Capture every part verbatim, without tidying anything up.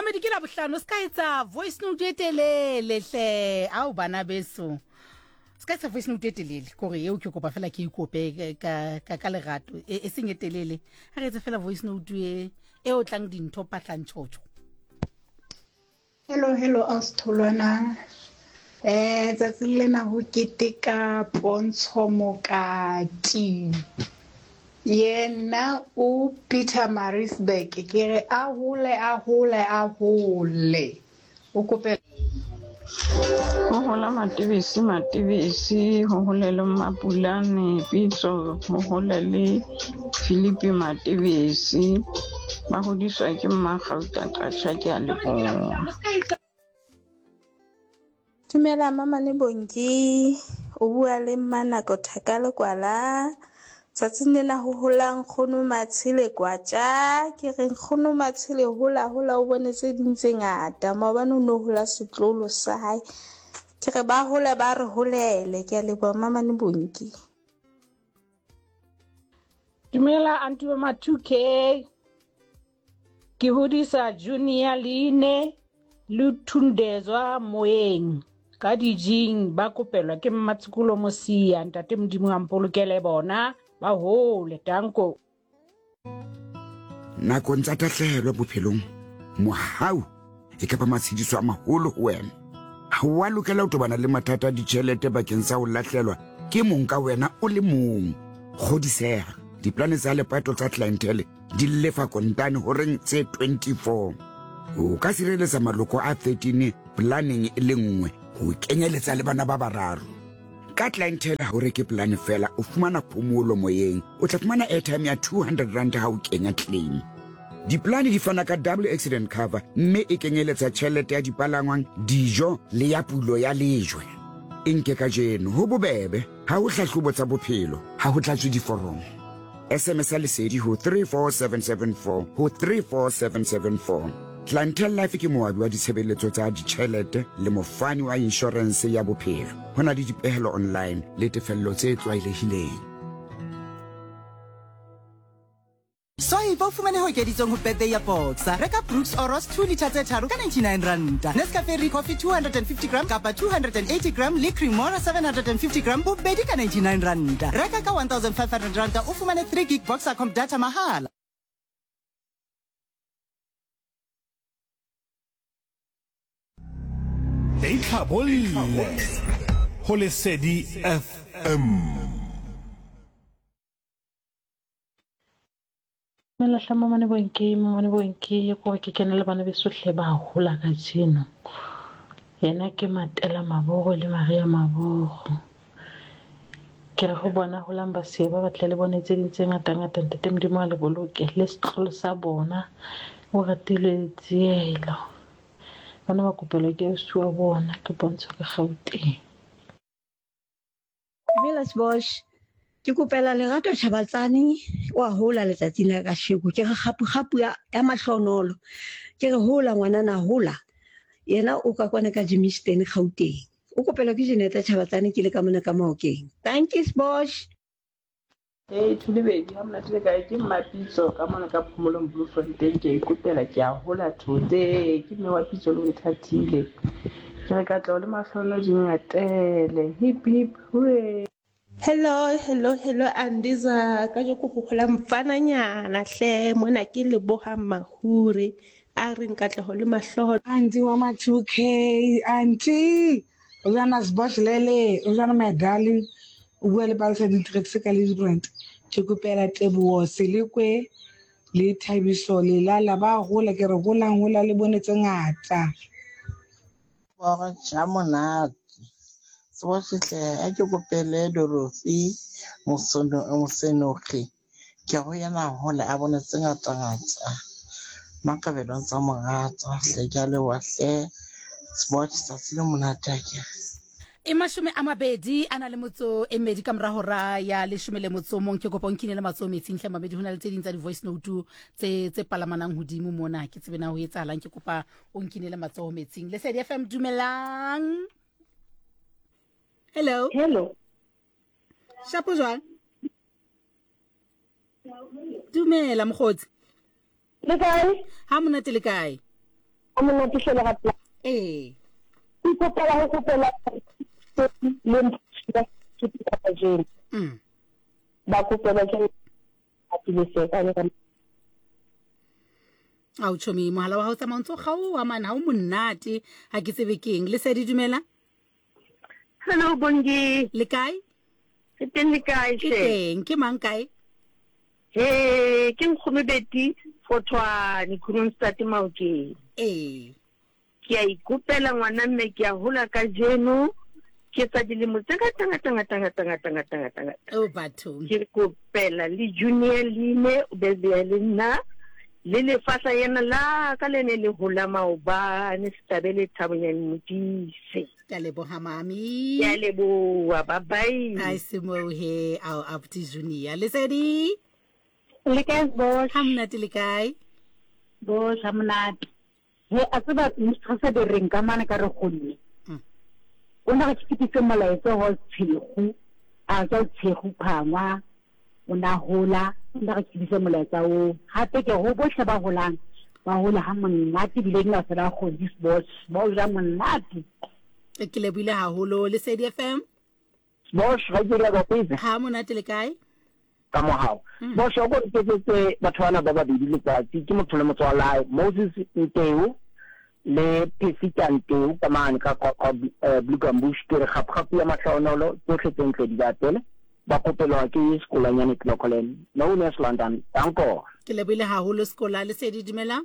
Mamedi ke la bohlano se ka etsa voice note e telele hle ao bana beso se ka etsa voice note e telele kore eo ke kopa fela ke ikope ka ka ka lerato e e seng e telele ha re etse fela voice note e e o tlang dintho patlantšhotšho. Hello, hello, Ausi Tholwana. Eh, tsatsing lena ho keteka Pontsho Mokati. Yena o Peter Marisburg. Ke re a hole, a hole, a hole. O kope Ho hola Matebesi, Matebesi, ho hole le Mapulane Pitso, ho hole le Philippe Matebesi. Ba hodiswa ke Mmakgauta Qatjha, ke a leboha. Dumela Mamane Bongi, o bua le Mmanako Thaka Lekwala. Tsatsing lena ho hola nkgono Matshele Kwatja. Ke re nkgono Matshele hola hola o bone tse ding tse ngata. Maobane o no hola setlolo sa hae. Ke re ba hole ba re holele. Ke a leboha Mamane Bongi. Dumela aunty wa ma two K. Ke hodisa Junior Line le Thundezwa Moeng ka dijing ba kopelwa ke Mmatshokolo Mosia. Ntate Modimo a mpolokele bona ba hole tanko. Nakong tsa tahlehelo bophelong, mohau e ka ba matshediso a maholo ho wena. Ha wa lokela ho tobana le mathata a ditjhelete bakeng sa ho lahlelwa ke mong ka wena o le mong. Kgodiseha, diplane tsa lepato tsa Clientele di lefa kontane horeng tse twenty-four. O ka sireletsa maloko a thirteen planeng e le nngwe ho kenyeletsa le bana ba bararo. Ka Clientele ha o reke plane fela, o fumana phomolo moyeng. O tla fumana airtime ya two hundred rand ha o kenya claim. Diplane di fana ka double accident cover mme e kenyeletsa tjhelete ya dipalangwang, dijo le ya pulo ya lejwe. E nke kajeno, ho bobebe, ha ho hlahlobo tsa bophelo, ha ho tlatswe diforomo. S M S ya lesedi ho three four seven seven four ho three four seven seven four. Clientele Life ke moabi wa ditshebeletso tsa ditjhelete le mofani wa inshorense ya bophelo. Ho na le dipehelo online le tefello tse tlwaelehileng. Swipe o fumane ho ekeditsweng ho birthday ya Boxer. Reka Brooks Oros two liter tse tharo ka ninety-nine ranta. Nescafe Coffee two hundred fifty gram kapa two hundred eighty gram le Cremora seven hundred fifty gram bobedi ka ninety-nine ranta. Reka ka one thousand five hundred ranta o fumane three gig Boxer com data mahala. Itlhabolle ho Lesedi F M. Dumela hle Mamane Bonki, Mamane Bonki, ko ke kena le bana beso hle ba hola kajeno. Yena ke Matela Mabogo le Maria Mabogo. Ke re ho bona holang ba se ba batle le bone tse ding tse ngata ngata. Ntate Modimo a le boloke le setlolo sa bona o ratilwe tsielo. Bana ba kopelwa ke ausi wa bona ke Pontsho ka Gauteng. Dumela Sbosh. Ke kopela Lerato Chabatsane wa hola letsatsing la kasheko. Ke re kgapu kgapu ya, ya mahlonolo. Ke re hola ngwanana hola. Yena o ka kwana ka Germiston, Gauteng. O kopelwa ke Jeneta Chabatsane ke le ka mona ka Maokeng. Thank you, Sbosh. Ee, Thulebedi, ha monate le kae? Ke Mmapitso ka mona ka Phomolong, Bloemfontein. Ke a ikopela, ke a hola thote. Ke mme wa Pitso le Onthatile. Ke re katleho le mahlohonolo di ngatele. Hip hip hooray. Hello, hello, hello, Andiza. Kajeko ho hola mfananyana hle mona ke leboha Mahure a reng katleho le mahloho. Auntie wa ma two K, auntie. O jana Sbosh lele, o jana my darling. O bua le Palesa Dintrex ka Ladybrand. Ke kopela Teboho Selekwe le Thabiso Lelala ba hola, ke re holang hola le bone tse ngata. Bora ja monate. Sbosh hle a ke kopele Dorothy Mosono Mosenogi. Ke go yena hola a bone tse ngata ngata. Makabelo tsa morata hle, ke a leboha hle. Sbosh, tsatsi le monate akere. E mashome a mabedi a na le motso e mmedi ka mora hora ya leshome le motso o mong. Ke kopa o nkine le matsoho metsing hle mabedi. Ho na le tse ding tsa di-voice note tse tse palamanang hodimo mona, ke tsebe na ho etsahalang. Ke kopa o nkine le matsoho metsing. Lesedi F M, dumelang. Hello. Hello. Shapo jwang? Dumela mokgotsi. Le kae? Ha monate, le kae? Monate hle lerato. Ee. Ke kopela ho kopela le mpho ke kajeno. Mm. Ba kopela ke atile se ka le. Ao chomi mohala wa hao tsamaya o ntso kgaoha man, ha o monate, ha ke tsebe keng. Lesedi dumela. Hello Bongi. Le kae? Ke teng le kae Ke hle? teng, ke mang kae? He, ke nkgono Betty Fothwane Kroonstad Maokeng. Ee. Ke a ikopela ngwana mme ke a hola kajeno. Ke etsa dilemo tse ngata ngata ngata ngata ngata ngata ngata ngata. Oh bathong. Ke kopela le Junior Line o be le nna le lefahla yena la ka le ne le hola maobane Setabele Thabonyane Modise. Ke a leboha mami. Ke a leboha, bye bye. Ai semohe ao abuti Junior. Lesedi. Le kae boss? Ha monate le kae? Boss ha monate. He a tseba mistress de reng ka mane ka re gonne. O na re fitise molaetsa ho tshego. A tswa tshego phangwa. O na hola, o na re fitise molaetsa o. Hape ke ho bohle ba holang. Ba hola ha monate bile nna fela go this boss. Ba o ja monate. Ke lebohile haholo. Lesedi F M. Boss ga ke re ba kwetsa. Ha monate le kae? Ka mohao. Boss o go ntetse batho bana ba babedi letsatsi ke motho le motswalae Moses Nteu le Pesita Nteu ka mane ka ka Blue Gambush ke re gapgapu ya matlhaonolo tsotlhe tse ntle di ba pele ba kopelwa ke sekolanyane Clocolan no West London danko. Ke lebohile haholo sekola. Lesedi dumela.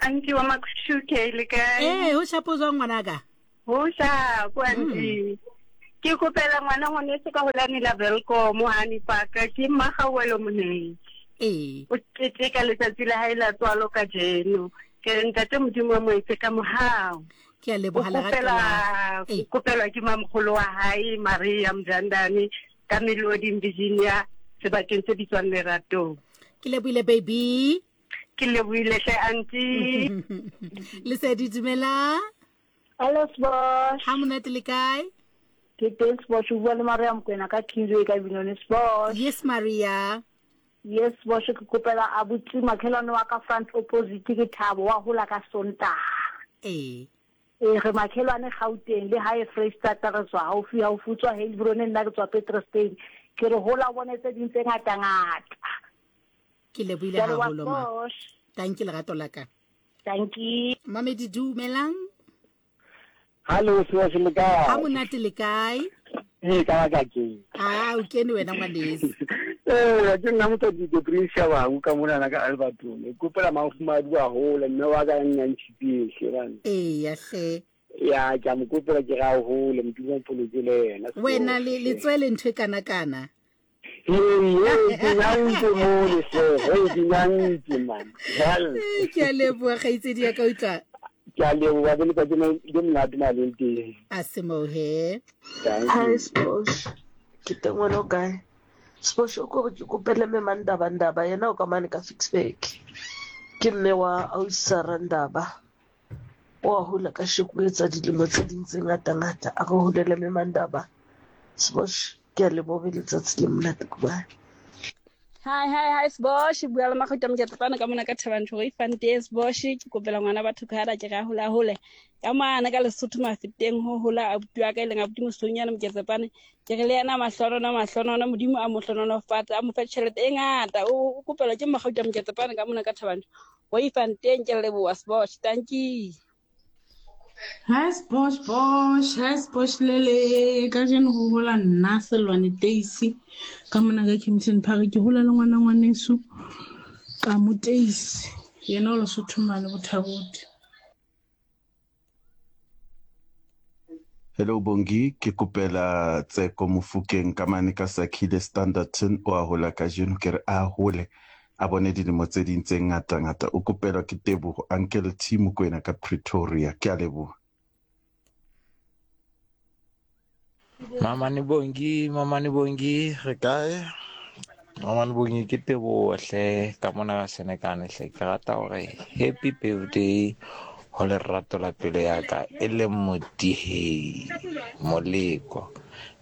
Anki wa Makushuke le kae? Eh, ho shapo jwang ngwanaka? Ho shapo anti. Ke kopela ngwana ngwaneso ka holane la Welkom hani paka ke Mmagauwelo Monei. Ee. O keteka letsatsi la hae la tswalo kajeno. Ke re ntate Modimo wa mo etse ka mohau. Ke a leboha lerato la. O kopelwa ke mamogolo wa hae Maria Mjandane ka Melodi Virginia sebakeng se bitswang Leratong. Ke lebohile baby. Ke lebohile hle auntie. Lesedi dumela. Hello boss. Ha monate le kae? Ke teng boss, o bua le Maria Mokoena ka Kingsway ka Binone boss. Yes Maria. Yes boss, ke kopela abuti makhelwane wa ka front opposite ke Thabo wa hola ka Sontaha. Ee. E re makhelwane Gauteng le hae Freistata re tswa haufi haufi tswa Heilbron nna ke tswa Petrostain. Ke re hola bone tse ding tse ngata ngata. Ke lebohile haholo ma. Thank you lerato la ka. Thank you. Mamedi dumelang. Hallo se se le kae? Ha monate le kae? Eh ka ka ke. Ah o kene wena ngwanesi. Eh ke nna motho di Prince Shabangu ka mona ka Alberton. Ke kopela mafumadi wa hola mme wa ka nna ntshipie hle. Eh ya hle. Ya ke a mo kopela ke ra hole modimo mpoloke le yena. Wena le le tswele ntho e kana kana. Hey, ke nyantse mo le hle. Hey ke nyantse man. Hell. Ke a leboha kgaitsedi ya ka utlwa. Ke a leboha ke letsatsi le monate maleng teng. A semohe. Hi Sposh. Ke teng wena o kae? Sposh o ko ke kopele mme Mandaba Ndaba yena o ka mane ka Ficksburg. Ke mme wa Ausara Ndaba. O a hola ka sheko etsa dilemo tse ding tse ngata ngata. A re holele mme Mandaba. Sposh ke a leboha letsatsi le monate goodbye. Hi hi hi Sbosh, bua le Magauta Moketsapana ka mona ka Thabanchu re fante Sbosh ke kopela ngwana batho ka hara ke ra hola hole ka mana ka Lesotho mafeteng ho hola abuti wa ka e leng abuti Mosonyana Moketsapane ke re le yena mahlonono mahlonono Modimo a mo hlononofatse a mo fe tjhelete e ngata o kopela ke Magauta Moketsapane ka mona ka Thabanchu re fanteng ke leboha Sbosh thank you. Hi Sbosh Bosh, hi Sbosh Lele, kajeno ho hola nna Selwane Teisi ka mona ka Kempton Park ke hola le ngwana ngwaneso ka mo Teisi yena o Lesotho mane Bothabote. Hello Bongi, ke kopela Tseko Mofokeng ka mane ka Sakhile Standerton o a hola kajeno ke re a hole a bone dilemo tse ding tse ngata ngata. O kopelwa ke Tebogo Uncle T Mokoena ka Pretoria. Ke a leboha. Mama ni Bongi, mama ni Bongi, re kae? Mama ni Bongi ke Tebogo hle ka mona Senekane hle ke rata hore happy birthday ho lerato la pelo ya ka e le Modihei Moleko.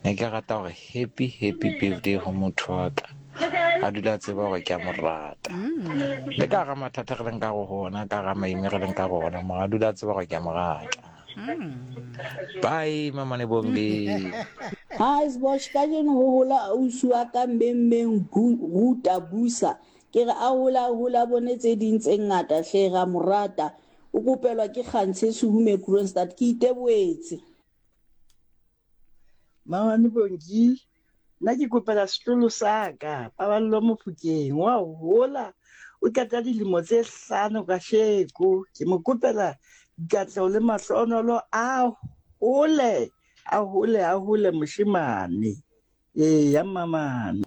Ne ke rata hore happy happy birthday ho motho wa ka. A dula a tseba hore ke a mo rata. Le ka hara mathata re leng ka go hona, ka hara maime re leng ka go ona, mara a dula a tseba hore ke a mo rata. Bye, Mamane Bongi. Hi Sbosh, kajeno ho hola ausi wa ka mbembeng Ruta Busa. Ke re a hola hola bone tse ding tse ngata hle ra mo rata. O kopelwa ke Kgantshe Sehume Kroonstad, ke iteboetse. Mamane Bongi, nna ke kopela setloholo sa ka, Paballo Mofokeng, wa hola, o qeta dilemo tse hlano kasheko. Ke mo kopela dikatleho le mahlonolo, a hole, a hole, a hole moshemane. Eya mamane.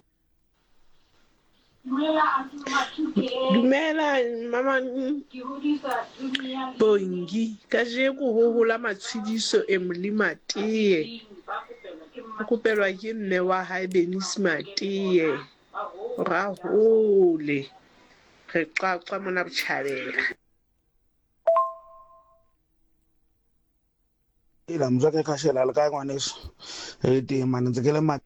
Dumela mama Bongi, kajeko ho hola Matshediso e Molima Teye. O kopelwa ke mme wa hae Bernice Mateye. Ra hole. Re qaqwa mona botjhabela. Ila mzwake kashela le kae ngwaneso? E teng mane ntse ke le ma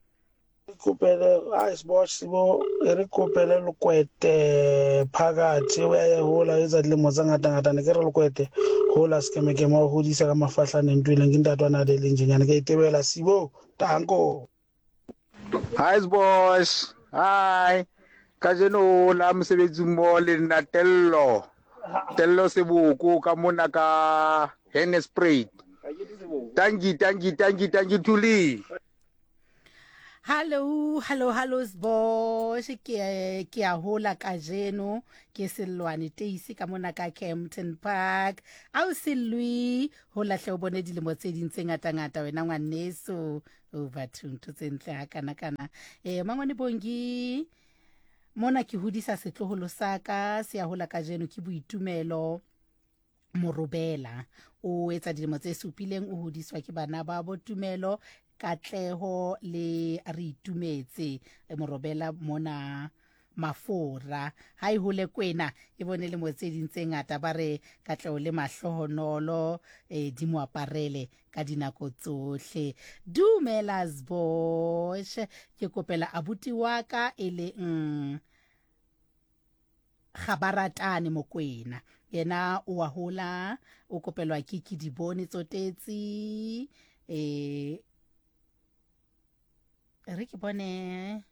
kopele ice box sibo e re kopele Lokwete phakathi o ya hola etsa dilemo tse ngata ngata ne ke re Lokwete hola sekemekeme wa hodisa ka mafahlane ntho e leng ke ntatwana le leng njenyana ke itebela sibo tanko. Hi boys, hi. Kajeno la mosebetsi mo le nna Tello. Tello Seboko ka mona ka Hennesprayed. Tanki tanki tanki tanki Thuli. Hello, hello, hello Sbosh, ke ke a hola kajeno, ke Sellwane Teisi ka mona ka Kempton Park. Au Sellwi, hola hle o bone dilemo tse ding tse ngata ngata wena ngwaneso. O batho ntho tse ntle ha kana kana. Eh Mangwane Bongi, mona ke hodisa setloholo sa ka, se a hola kajeno ke Boitumelo Morobela. O etsa dilemo tse supileng, o hodiswa ke bana ba Botumelo, Katleho le re itumetse Morobela mona Mafora. Ha e hole kwena e bone le mo tse ding tse ngata, ba re Katleho le mahlohonolo eh di mo aparele ka dinako tsohle. Dumela Sbosh, ke kopela abuti wa ka e le mm, Gabaratane Mokwena. Yena o wa hola, o kopelwa ke ke dibone tsotetsi eh re ke bone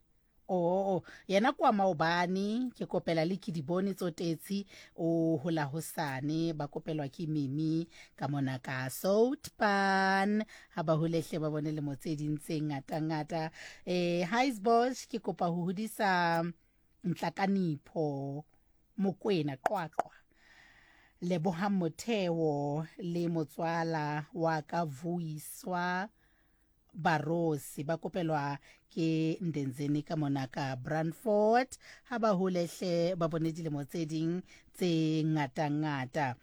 oh yena kwa maobane ke kopela le ke dibone tsotetsi o hola hosane, ba kopelwa ke Mimi ka mona ka Soutpan. Ha ba holehle ba bone le mo tse ding tse ngata ngata. Eh hi Sbosh, ke kopa ho hodisa Ntlhakanipho Mokwena Qwaqwa, Lebohang Motheo le motswala wa ka Vuyiswa Barosi, ba kopelwa ke Ndenzeni ka mona ka Brandfort. Ha ba holehle ba bone dilemo tse ding tse ngata ngata.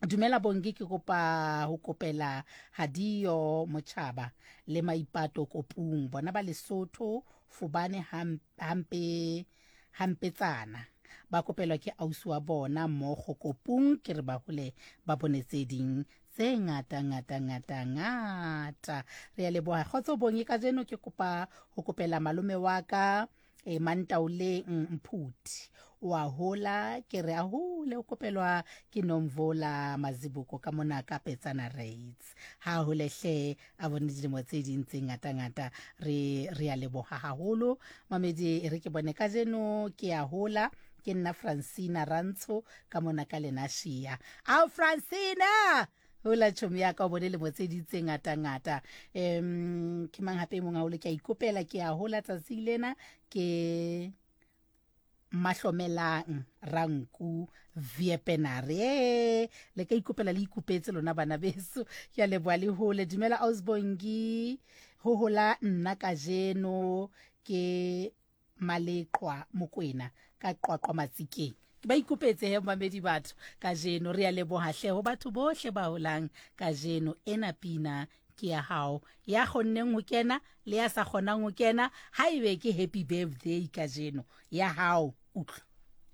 Dumela Bongi, ke kopa ho kopela Hadio Mochaba le Maipato Kopung, bona ba Lesotho Fubane hampe hampetsana, ba kopelwa ke ausi wa bona mmogo Kopung. Ke re ba hole ba bone tse ding tse ngata ngata ngata ngata. Re a leboha kgotso Bongi. Kajeno ke kopa ho kopela malome wa ka e Mantaoleng Mphuti, wa hola, ke re a hole, o kopelwa ke Nomvola Mazibuko ka mona ka Petsana Rates. Ha holehle a bone dilemo tse ding tse ngata ngata. Re re a leboha haholo mamedi. Re ke bone kajeno ke a hola, ke nna Francina Rantsho ka mona ka Lenashia. Au Francina, hola chomi ya ka, o bone lemo tse ding tse ngata ngata. Em ke mang hape e mong haholo ke a ikopela, ke a hola tsatsing lena ke Mahlomelang Ranku Viepenare. Le ka ikopela le ikopetse lona bana beso. Ke a leboha le hole. Dumela Ausbongi, ho hola nna kajeno ke Maleqwa Mokwena ka Qwaqwa Matsikeng. Ke ba ikopetse he mamedi batho kajeno. Re a leboha hle ho batho bohle ba holang kajeno. Ena pina ke ya hao, ya kgonneng ho kena le ya sa kgonang ho kena, ha ebe ke happy birthday kajeno ya hao. Utlwa.